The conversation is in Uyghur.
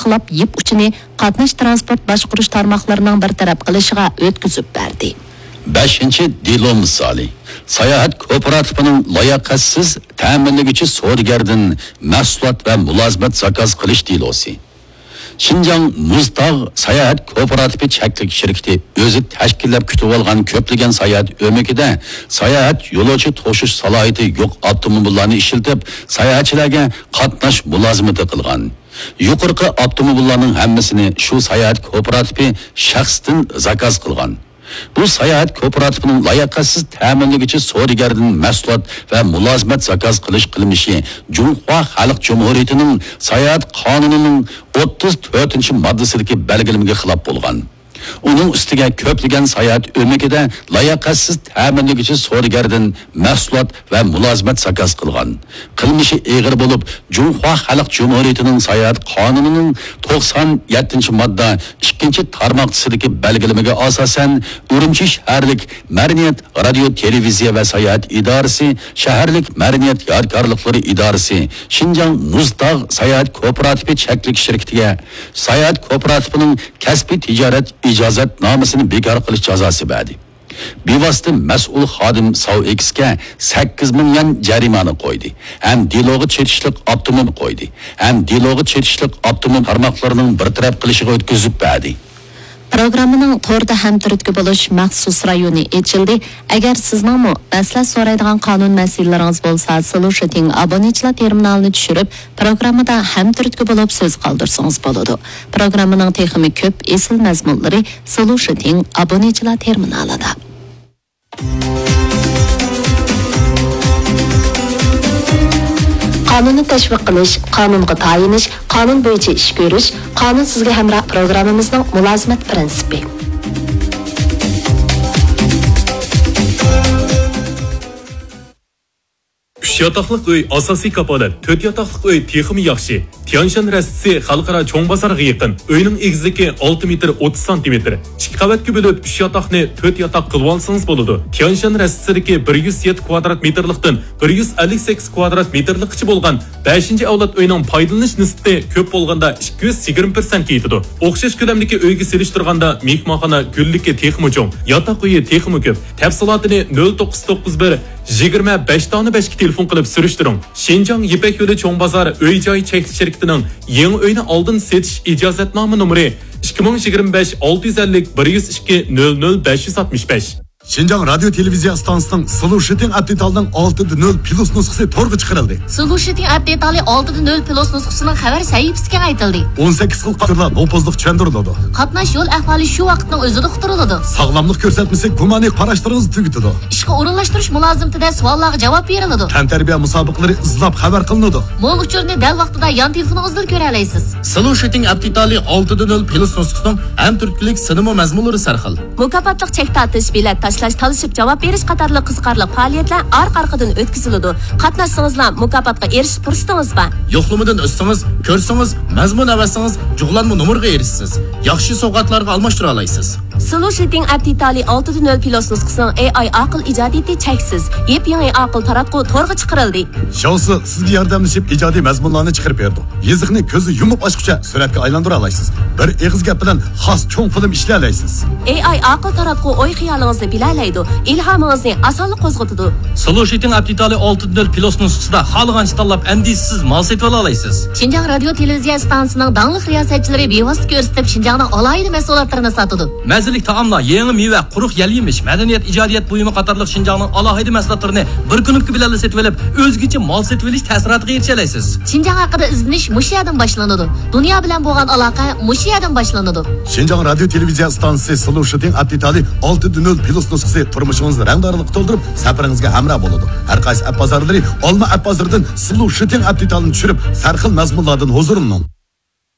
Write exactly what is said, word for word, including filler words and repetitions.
تولۇقلاپ، يىپ ئۇچىنى قاتناش تىرانسپورت باشقۇرۇش تارماقلىرىنىڭ بىر تەرەپ قىلىشىغا ئۆتكۈزۈپ بەردى. بەشىنچى دېلو مىسالى. ساياھەت كوپىراتىپىنىڭ لاياقەتسىز تەمىنلىگۈچى سودىگەردىن مەھسۇلات ۋە مۇلازىمەت زاكاز قىلىش دېلوسى. شىنجاڭ مۇزتاغ ساياھەت كوپىراتىپى چەكلىك شىركىتى ئۆزى تەشكىللەپ كۈتۈۋالغان كۆپلىگەن ساياھەت ئۆمىكىدە ساياھەت يولۇچى توشۇش سالاھىيىتى يوق ئاپتوموبىللارنى ئىشلىتىپ، ساياھەتچىلەرگە قاتناش مۇلازىمىتى قىلغان. يۇقىرىقى ئاپتوموبىللارنىڭ ھەممىسىنى شۇ ساياھەت كوپىراتىپى شەخسىتىن زاكاز قىلغان. بۇ ساياھەت كوپىراتىپىنىڭ لاياقەتسىز تەمىنلىگۈچى سودىگەردىن مەھسۇلات ۋە مۇلازىمەت زاكاز قىلىش قىلمىشى جۇڭخۇا خەلق جۇمھۇرىيىتىنىڭ ساياھەت قانۇنىنىڭ ئوتتۇز تۆتىنچى ماددىسىدىكى بەلگىلىمىگە خىلاپ بولغان. ئۇنىڭ ئۈستىگە كۆپلىگەن ساياھەت ئۆمىكىدە لاياقەتسىز تەمىنلىگۈچى سودىگەردىن مەھسۇلات ۋە مۇلازىمەت زاكاز قىلغان. قىلمىشى ئېغىر بولۇپ، جۇڭخۇا خەلق جۇمھۇرىيىتىنىڭ ساياھەت قانۇنىنىڭ توقسان يەتتىنچى ماددا ئىككىنچى تارماقچىسىدىكى بەلگىلىمىگە ئاساسەن، ئۈرۈمچى شەھەرلىك مەدەنىيەت، رادىيو، تېلېۋىزىيە ۋە ساياھەت ئىدارىسى، شەھەرلىك مەدەنىيەت يادىكارلىقلىرى ئىدارىسى، شىنجاڭ مۇزتاغ ساياھەت كوپىراتىپى چەكلىك شىركىتىگە ساياھەت كوپىراتىپىنىڭ كەسپىي تىجارەت ئىجازەتنامىسىنى بىكار قىلىش جازاسى بەردى. بىۋاسىتە مەسئۇل خادىم ساۋ ئېكسكە سەككىز مىڭ يۈەن جەرىمانە قويدى ھەم دېلوغا چېتىشلىق ئاپتوموبىل قويدى ھەم دېلوغا چېتىشلىق ئاپتوموبىل تارماقلىرىنىڭ بىر تەرەپ قىلىشىغا ئۆتكۈزۈپ بەردى. پروگراممىنىڭ توردا ھەمتۈرتكە بولۇش مەخسۇس رايونى ئېچىلدى. ئەگەر سىزنىڭمۇ مەسلىھەت سورايدىغان قانۇن مەسىلىلىرىڭىز بولسا، سولۇشىتىڭ ئابۇنىچىلار تېرمىنالىنى چۈشۈرۈپ، پروگراممىدا ھەمتۈرتكە بولۇپ سۆز قالدۇرسىڭىز بولىدۇ. پروگراممىنىڭ تېخىمۇ كۆپ ئېسىل مەزمۇنلىرى سولۇشىتىڭ ئابۇنىچىلار تېرمىنالىدا. قانۇننى تەشۋىق قىلىش، قانۇنغا تايىنىش، قانۇن بويىچە ئىش كۆرۈش، قانۇن سىزگە ھەمراھ پروگراممىمىزنىڭ مۇلازىمەت پىرىنسىپى. ئۈچ ياتاقلىق ئۆي ئاساسىي كاپالەت، تۆت ياتاقلىق ئۆي تېخىمۇ ياخشى. تيەنشان رەستىسى خەلقئارا چوڭ بازارغا يېقىن. ئۆينىڭ ئېگىزلىكى ئالتە مېتىر ئوتتۇز سانتىمېتىر. ئىككى قەۋەتكە بۆلۈپ، ئۈچ ياتاقنى تۆت ياتاق قىلىۋالسىڭىز بولىدۇ. تيەنشان رەستىسىدىكى بىر يۈز يەتتە كۋادرات مېتىرلىقتىن بىر يۈز ئەللىك سەككىز كۋادرات مېتىرلىققىچە بولغان بەشىنچى ئەۋلاد ئۆينىڭ پايدىلىنىش نىسبىتى كۆپ بولغاندا ئىككى يۈز يىگىرمە پىرسەنتكە يېتىدۇ. ئوخشاش كۆلەمدىكى ئۆيگە سېلىشتۇرغاندا مېھمانخانا گۈللۈكى تېخىمۇ چوڭ، ياتاق ئۆيى تېخىمۇ كۆپ. تەپسىلاتىنى نۆل توققۇز توققۇز بىر، يىگىرمە بەش دانە بەشكە تېلېفون قىلىپ سۈرۈشتۈرۈڭ. شىنجاڭ يىپەك يولى چوڭ بازار ئۆي جاي چەكلىك شىركىتىنىڭ يېڭى ئۆينى ئالدىن سېتىش ئىجازەتنامە نومۇرى ئىككى مىڭ يىگىرمە بەش ئالتە يۈز ئەللىك بىر يۈز ئىككى نۆل نۆل بەش يۈز ئاتمىش بەش. شىنجاڭ رادىيو تېلېۋىزىيە ئىستانسىسىنىڭ سلۇشىتىڭ ئەپ دېتالىنىڭ ئالتىدە نۆل پلۇس نۇسخىسى تورغا چىقىرىلدى. سلۇشىتىڭ ئەپ دېتالى ئالتىدە نۆل پلۇس نۇسخىسىنىڭ خەۋەر سەھىپىسى كېڭەيتىلدى. ئون سەككىز خىل قاتۇرلار نوپۇزلۇق چۈشەندۈرۈلىدۇ. قاتناش يول ئەھۋالى شۇ ۋاقىتنىڭ ئۆزىدە ئۇقتۇرۇلىدۇ. ساغلاملىق كۆرسەتمىسى گۇمانىي قاراشلىرىڭىزنى تۈگىتىدۇ. ئىشقا ئورۇنلاشتۇرۇش مۇلازىمىتىدە سوئاللارغا جاۋاب بېرىلىدۇ. تەنتەربىيە مۇسابىقىلىرى ئىزلاپ خەۋەر قىلىنىدۇ. مول ئۇچۇرنى دەل ۋاقتىدا يان تېلېفونىڭىزدىلا كۆرەلەيسىز. سلۇشىتىڭ ئەپ دېتالى ئالتىدە نۆل پلۇس نۇسخىسىنىڭ ھەمتۈرتكىلىك سىنىمۇ مەزمۇنلىرى سەرخىل. مۇكاپاتلىق چەك تارتىش، بېلەت تاشلاش، تالىشىپ جاۋاب بېرىش قاتارلىق قىزىقارلىق پائالىيەتلەر ئارقا-ئارقىدىن ئۆتكۈزۈلىدۇ. قاتناشسىڭىزلا مۇكاپاتقا ئېرىشىش پۇرسىتىڭىز بار. يوقلىمىدىن ئۆتسىڭىز، كۆرسىڭىز، مەزمۇن ئەۋەتسىڭىز، جۇغلانما نومۇرغا ئېرىشىسىز. ياخشى سوۋغاتلارغا ئالماشتۇرالايسىز. سلۇشىتىڭ ئەپ دېتالى ئالتىدە نۆل پلۇس نۇسخىسىنىڭ ئېي ئاي ئاقىل ئىجادىيىتى چەكسىز. يېپيېڭى ئاقىل تاراتقۇ تورغا چىقىرىلدى. شاۋسى سىزگە ياردەملىشىپ ئىجادىي مەزمۇنلارنى چىقىرىپ بېرىدۇ. يېزىقنى كۆزنى يۇمۇپ ئاچقۇچە سۈرەتكە ئايلاندۇرالايسىز. بىر ئېغىز گەپ بىلەن خاس چوڭ فىلىم ئىشلىيەلەيسىز. ئېي ئاي ئاقىل تاراتقۇ ئوي-خىيالىڭىزنى بىلەلەيدۇ، ئىلھامىڭىزنى ئاسانلا قوزغىتىدۇ. سلۇشىتىڭ ئەپ دېتالى ئالتىدە نۆل پلۇس نۇسخىسىدا خالىغانچە تاللاپ ئەندىشىسىز مال سېتىۋالالايسىز. شىنجاڭ رادىيو تېلېۋىزىيە ئىستانسىسىنىڭ داڭلىق رىياسەتچىلىرى بىۋاسىتە كۆرسىتىپ شىنجاڭنىڭ ئالاھىدە مەھسۇلاتلىرىنى ساتىدۇ. مەززىلىك تائاملار، يېڭى مېۋە، قۇرۇق يەل-يېمىش، مەدەنىيەت، ئىجادىيەت بۇيۇمى قاتارلىق شىنجاڭنىڭ ئالاھىدە مەھسۇلاتلىرىنى بىر كۇنۇپكا بىلەنلا سېتىۋېلىپ، ئۆزگىچە مال سېتىۋېلىش تەسىراتىغا ئېرىشەلەيسىز. شىنجاڭ ھەققىدە ئىزدىنىش مۇشۇ يەردىن باشلىنىدۇ. دۇنيا بىلەن بولغان ئالاقە مۇشۇ يەردىن باشلىنىدۇ. شىنجاڭ رادىيو تېلېۋىزىيە ئىستانسىسى سلۇشىتىڭ ئەپ دېتالى ئالتىدە نۆل پلۇس نۇسخىسى تۇرمۇشىڭىزنى رەڭدارلىققا تولدۇرۇپ، سەپىرىڭىزگە ھەمراھ بولىدۇ. ھەر قايسى ئەپ بازارلىرى ئالما ئەپ بازىرىدىن سلۇشىتىڭ ئەپ دېتالىنى چۈشۈرۈپ، سەرخىل مەزمۇنلاردىن ھۇزۇرلىنىڭ.